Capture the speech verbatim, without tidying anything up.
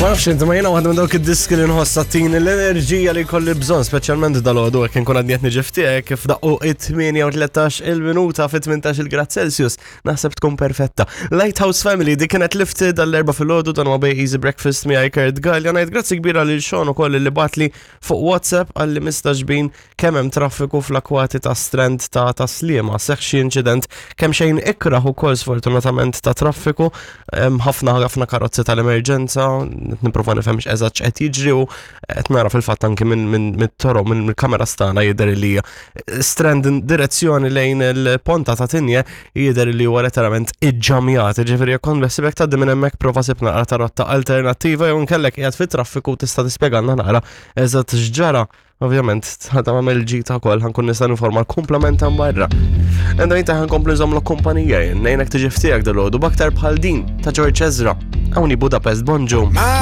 Ma nafx inti, ma jiena waħda minn dawk id-diski li nħossa tini l-enerġija li kolli bżonn, speċjalment dal-għodu hekk nkun għadni qed niġi ftiegħek kif daqqu it-tmienja u tlettax il-minuta fi tmintax il-grad Celsius, naħseb tkun perfetta. Lighthouse Family, dik kienet Lifted dal-Erbgħa filgħodu. Dan huwa Bay Easy Breakfast miegħi Kurt Gallia. Ngħid grazzi kbira lil Sean ukoll li bagħatli fuq WhatsApp għalli mistaġbin kemm hemm traffiku fl-akwati ta' Strand ta' ta' Sliema. Seħħ xi inċident kemm xejn ikraħ ukoll sfortunatament ta' traffiku, hemm ħafna ħafna karozzi tal-emerġenza, nipprova nifhem x'eżatt x'qed jiġri u qed nara fil-fatt anki minn minn mit-toro minn mill-kamera stana jidher li Strand direzzjoni lejn il-ponta ta' Tigne jidher li huwa letteralment iġġamjat. Ġifieri jekk kont beħsiebek tgħaddi minn hemmhekk, prova sib naqra ta' rotta alternattiva jew nkellek qiegħed fit-traffiku tista' tispjegalna naqra eżatt x'ġara. Ovvjament, ħa tagħmel ġita wkoll ħa nkun nista' ninforma l-kumplament ta' barra. Enda inta ħa nkompli nżommlok kumpanija jien, ngħinek tiġi ftiegħek dalgħodu b'aktar bħal din ta' George Ezra. Hawnhi Budapest Bonġu. Miles